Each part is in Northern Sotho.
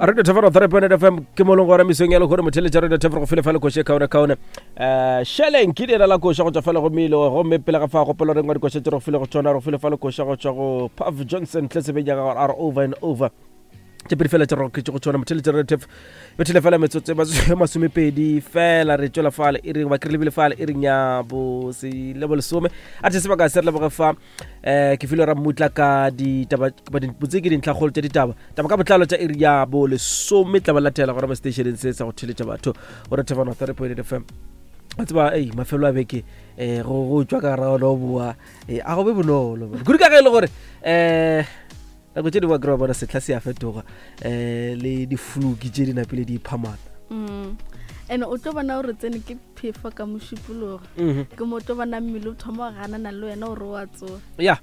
Radio Thefero 3.8 FM ke mo leng gona mesong ya lehono motheletša Radio Thefero go file fa le koše kaone kaone um šeleng ke leina la koša go tšwa fela go milo gomme pele ga fa gopolo reng wa dikoša tše re go file go tšona re go file fa le koša go tšwa go Puff Johnson tlesebeng ya gagwe are over and over tše pedi fela tše re go tšona motheletša Radio Thefero bethele fela metsotso e masomepedi fela re tšwela fale e reng ba ke re lebile fale e reng ya bo se le bo lesome a the sebaka se re leboge fa um ke file ra mmutla ka ditaba botse ke dintlhakgolo tša ditaba taba ka botlalo tša iri ya bo lesome tla ba latela gona mo stationeng se sa go theletša batho go re thefano 3.8 fm wa tseba ei mafelo a beke um go tswa ka gara ona o boa eh, a go be bonolo kudu ka ge e le gore um nako tše dingwe kry bona setlha se a fetoga um le difluki tše di napile di iphamana mm. and o tlo bona gore tsene ke phefo ka mošupologo mhm. ke mo tlo bona mmele o thoma go ganana le wena gore o a tsoga ya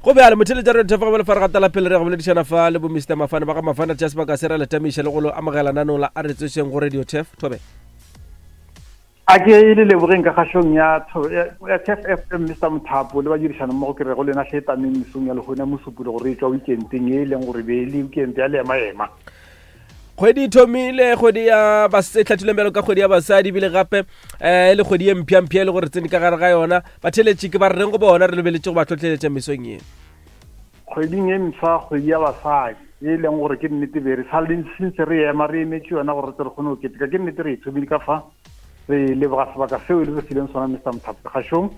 go bjale motheletša re thefa go lefare gatela pele re go boledišana fa le bo mr mafane ba ga mafane tša sebaka se ra letamiša le go lo amogela nanong la a re tsošeng go radio tef thobe A ke le lebogeng ka kgašong ya ya TEF FM Mr Mothapo le badirišana mmogo ke re go lena hle tameng mesong ya lehono ya Mosupologo re tšwa weekendeng e e leng gore be e le weekend ya leema-ema. Kgwedi e thomile kgwedi ya e hlathileng bjalo ka kgwedi ya basadi ebile gape um e le kgwedi ye mpša-mpša e le gore tsene ka gare ga yona batheletši ke ba re reng go bona re lebeletše go ba tlhotlheletša mesong ye. Kgweding e mpsha kgwedi ya basadi e leng gore ke nnete be re sa le since re ema re emetše yona gore re tle re kgone go keteka ke nnete re e thomile ka fa re leboga sebaka seo e le re fileng sona Mr Mothapo kgašong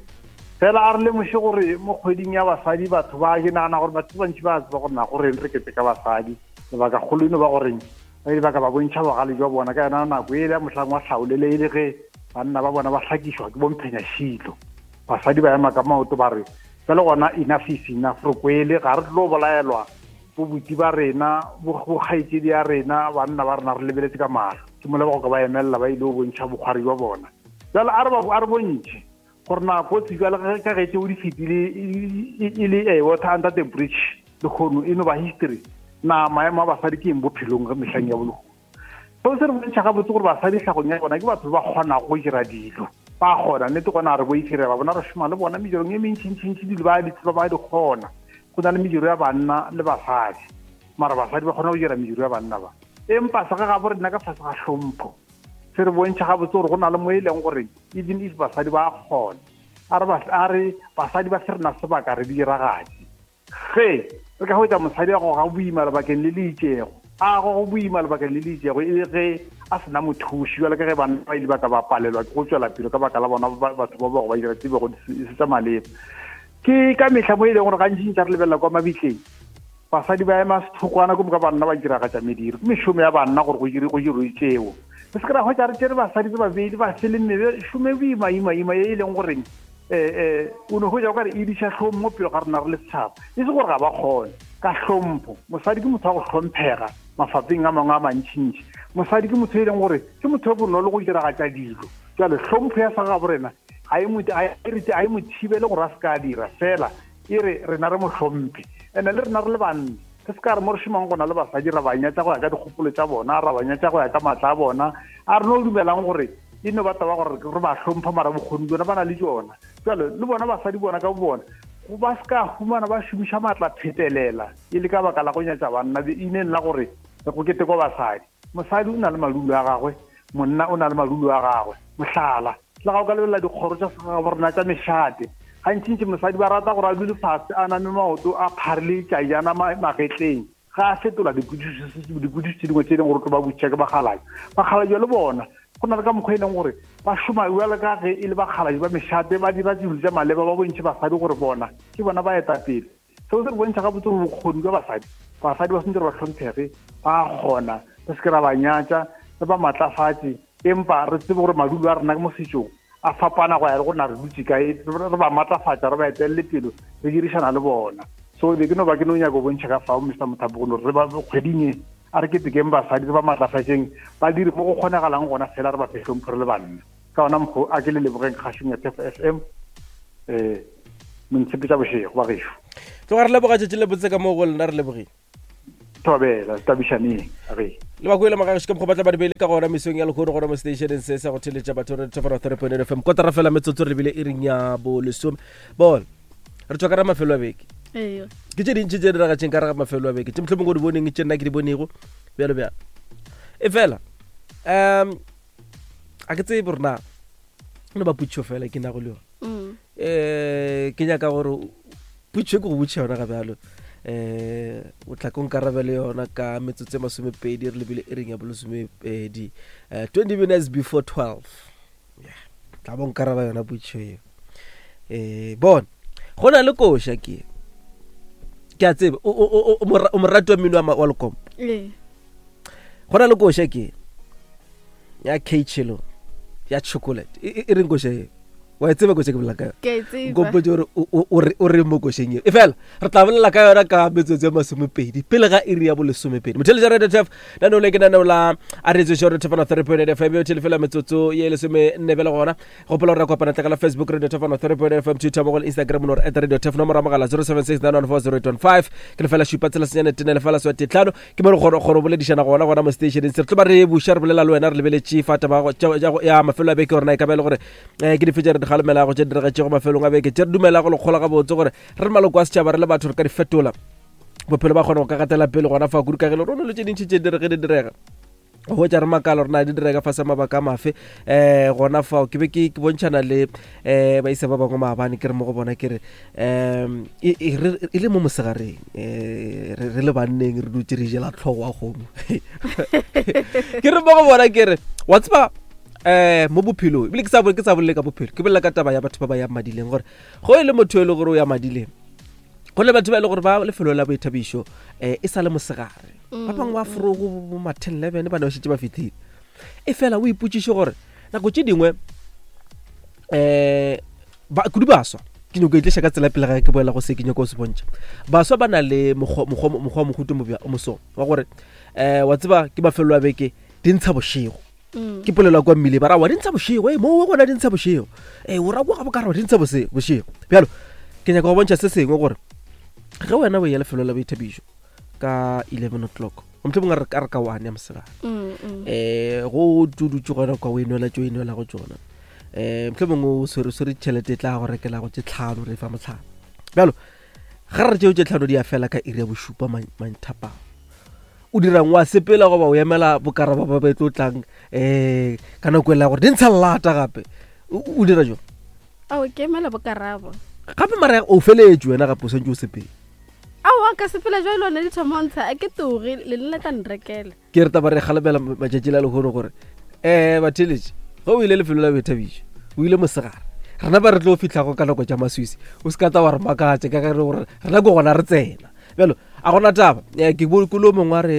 fela a re lemoše gore mo kgweding ya basadi batho ba ke nagana gore batho ba bantši ba tseba gore na goreng re keteka basadi lebaka kgolo eno ba goreng ba ile ba ka ba bontšha bogale jwa bona ka yona nako e le ya mohlang wa hlaolele e le ge banna ba bona ba hlakišwa ke bomphenyašilo basadi ba ema ka maoto ba re Bjale gona enough is enough, re kwele, ga re tlo bolaelwa bobuti ba rena, bokgaetšedi ya rena, banna ba rena re lebeletse ka mahlo. Ke mola ba go ka ba emelela ba ile go bontšha bokgwari jwa bona. Bjale a re ba a re bontšhe gore na kotsi bjale ka ge tšeo di fetile e le a water under the bridge lehono e no ba history. Na maemo a basadi ke eng bophelong mehleng ya bolehono? Seo se re bontšha gabotse gore basadi tlhagong ya bona ke batho ba kgonago go dira dilo. Ba kgona, nnete gona re boife re ba bona re šoma le bona medirong e mentšintšintši dilo ba di tseba ba di kgona. Go na le mediro ya banna le basadi, mara basadi ba kgona go dira mediro ya banna ba. Empa sa ga gabo rena ka fase ga hlompho se re bontšha gabotse gore go na le mo e leng gore even if basadi ba kgona, a re basadi ba se rena sebaka re di diragatše. Ge re ka hwetša mosadi a goga boima lebakeng le le itšego, a gogo boima lebakeng le le itšego e le ge a se na mothuši, bjalo ka ge banna ba ile ba ka ba palelwa ke go tšwela pele ka baka la bona batho ba bego ba dira tse bego e se tša maleba. Ke ka mehla mo e leng gore gantši ntša re lebelela kwa mabitleng, basadi ba ema sethokwana ko moka banna ba diragatša mediro. Ke mešomo ya banna gore go dire go dirwe tšeo. Re se ke ra hwetša re tšere basadi re ba beile ba sele mme šome boima ima ima e leng goreng eh eh o no hwetša o ka re e diša hlong mo pele ga rena re le setšhaba e se gore ga ba kgone ka hlompho mosadi ke motho wa go hlomphega mafapheng a mangwe a mantšintši mosadi ke motho e leng gore ke motho yo bonolo go diragatša dilo jale hlompho ya sa gabo rena ga e e mo thibele gore a se ka dira fela e re rena re mo hlomphe ene le rena re le banna re se ka re mo re šomang gona le basadi ra ba nyatša go ya ka dikgopolo tša bona ra ba nyatša go ya ka maatla a bona a re no dumelang gore e no ba taba gore re ba hlompha mara bokgoni bjona ba na le jona jalo le bona basadi bona ka bona go ba se ka humana ba šomiša maatla phetelela e le ka baka la go nyatša banna ineng la gore go ketekwa basadi mosadi o na le malulo a gagwe monna o na le malulo a gagwe mohlala le ga o ka lebelela dikgoro tša segagabo rena tša mešate gantšintši mosadi ba rata gore a dule fase a name maoto a pharile tšajana magetleng ga a fetola dipotšišo tše dingwe tše e leng gore tlo ba botšiša ke bakgalabje bakgalabje le bona go na le ka mokgwa e leng gore ba šoma bjalo ka ge e le bakgalabje ba mešate ba dira dilo tša maleba ba bontšhe basadi gore bona ke bona ba etapele seo se re bontšha gabotse gore bokgoni jwa basadi basadi ba sentse re ba hlomphege ba kgona re se ke ra ba nyatša re ba matlafatše empa re tsebe gore madulo a rena mo setšong a fapana go ya le gore na re dutse kae re ba matlafatša re ba etelele pelo re dirišana le bona so be ke no ba ke no nyaka go bontšha ka fao mr mothapo gore re ba kgweding e a re ketekeng basadi re ba matlafatšeng ba dire mo go kgonagalang gona fela re ba fe hlompho re le banna ka ona mokgo a ke le lebogeng kgašong ya tef f m um montshepetša bošego ba gešo tloga re leboga tšatši le botse ka moo go lena re lebogile thobela tabišaneng re le ba kwele magageši ka mokgwa ba tla ba di beile ka gona mesong ya lekgono gona mo stationeng se sa go theletša batho re thofara 3.8 fm kotara fela metsotso re lebile e reng ya bolesome bona re tswa ka ra mafelo a beke Eyo. ke tše dintši tše diragatšeng ka re ga mafelo a beke tše mohlomongwe o di boneng tše nna ke di bonego bjalo bjalo. E fela um a ke tsebe gore na no ba putšo fela ke nago le yone um ke nyaka gore putšo ke go botšha yona ga bjalo um o tla ko nkarabele yona ka metsotso e masomepedi re lebile e reng ya bolesomepedi um 20 minutes before 12 yeah tla bo nkaraba yona putšo eo um bona go na le koša ke ke a tsebe o morati wa mmino wa lekompo go na le koša ke ya kchelo ya chocolate e reng koša eo wa e tseba koša ke bolela ka yona nkompotse gore o reng mo košeng eo e fela re tla bolela ka yona ka metsotso ya masomepedi pele ga iri ya bolesomepedi motheletša radio tf naneo le ke naneo la a re tsoše radio tf 3.8 fm yo thelefela metsotso ye lesome nne bele gona gopola gore re kopana tlakala facebook radio tf 3.8 fm twitter mo go instagram no re at radio tf nomoro ya mogala 0769140815 ke lefela šupa tsela senyane tene lefela swa tetlhano ke mo re kgona go boledišana gona gona mo stationeng se re tlo ba re buša re bolela le wena re lebeletše fa taba ya mafelo a beke gore na e ka ba e le gore um ke dife tše re di galemelago tše di diragetšego mafelong a beke tše re dumelago lekgola gabotse gore re le maloko a setšhaba re le batho re ka di fetola bophelo ba kgona go ka gatela pele gona fa kudu ka gele rone lo tše dintšhi tše dire ge di direga go hwetša re makala gore na di direga fa sa mabaka a mafe um gona fao ke be ke bontšhana le um baisa ba bangwe maabane ke re mo go bona ke re um e, e, e le mo mosegareng um re le banneng re dutse re jela tlhogo wa kgomo ke re mo go bona ke re wa tseba eh mo bophelong ebile ke sa ke sa bolele ka bophelo ke bolela ka taba ya batho ba ba yang madileng gore go e le motho e le gore o ya madileng go le batho ba e le gore ba lefelo la boithabišo um e sa le mosegare ba bangwe ba forogo bo ma ten eleven ba ne ba šetše ba fitlhile e fela o ipotšiše gore nako tše dingwe um kudu baswa ke nyako e tliša ka tsela pele ga ke boela go se ke nyako se bontšha baswa ba na le mokgwa mohuto moso wa gore um wa tseba ke mafelo a beke di ntsha bošego mm. ke polelo ya kwa mmile ba ra wa di ntsha bošego e moo gona di ntsha bošego e o ra kwa ga bokara wa di ntsha bošego bjalo ke nyaka go bontšha se sengwe gore ge wena o ya lefelo la boithabišo ka 11 o'clock motlho mongwe a re ka one ya mosegare um go dudutse gona kwa o inwela tso inwela go tsona um motlho mongwe o swere swere tšhelete e tla go rekela go tse tlhano re fa motlhano bjalo ga re tšeo tše tlhano di a fela ka iri ya bošupa manthapang o dirang wa sepela goba o emela bokaraba ba ba tlo tlang um ka nako e la gore di ntsha llata gape o dira jang ao ke emela bokarabo gape mara o feletse wena gape o swantse o sepele aowa ka sepela jwa lone di thomontsha a ke toge le nna tla nrekela ke re taba re kgalemela matšatši la lehono gore um batheletše ge o ile lefelo la boithabišo o ile mosegare rena ba re tlo fitlhago ka nako tša maswisi o se ka tla wa re makatše ka ge re gore rena ke gona re tsena bjalo a gona taba eh, ke bo ke lo mongwe a re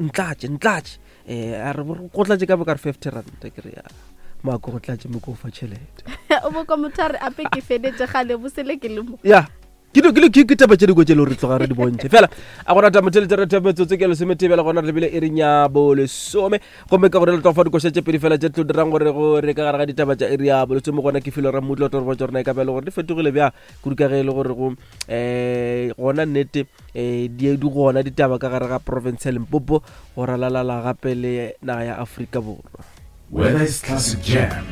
ntlatše ntlatše um a re go tlatše ka bo ka re 50 ranta ke re ya maako go tlatše mo ko fa tšhelete o bo kwa motho a re ape ke fedetše gale bosele ke le mo ya ke dilo- ke dilo- ke- ke taba tše dingwe tše le gore re tloga re di bontšhe fela a gona taba tšhelete re thebe metsotso ke lesometebela gona re lebile e reng ya bolesome gomme ka gore le tlo fa dikoša tše pedi fela tše tlo dirang gore gore ka gare ga ditaba tša iri ya bolesome gona ke filo ra mmutlo tlo re botša gore na e ka ba e le gore di fetogile bjang kudu ka ge e le gore go um gona nnete um di di gona ditaba ka gare ga province ya limpopo go ralalala gape le naga ya afrika borwa Whether it's classic jam,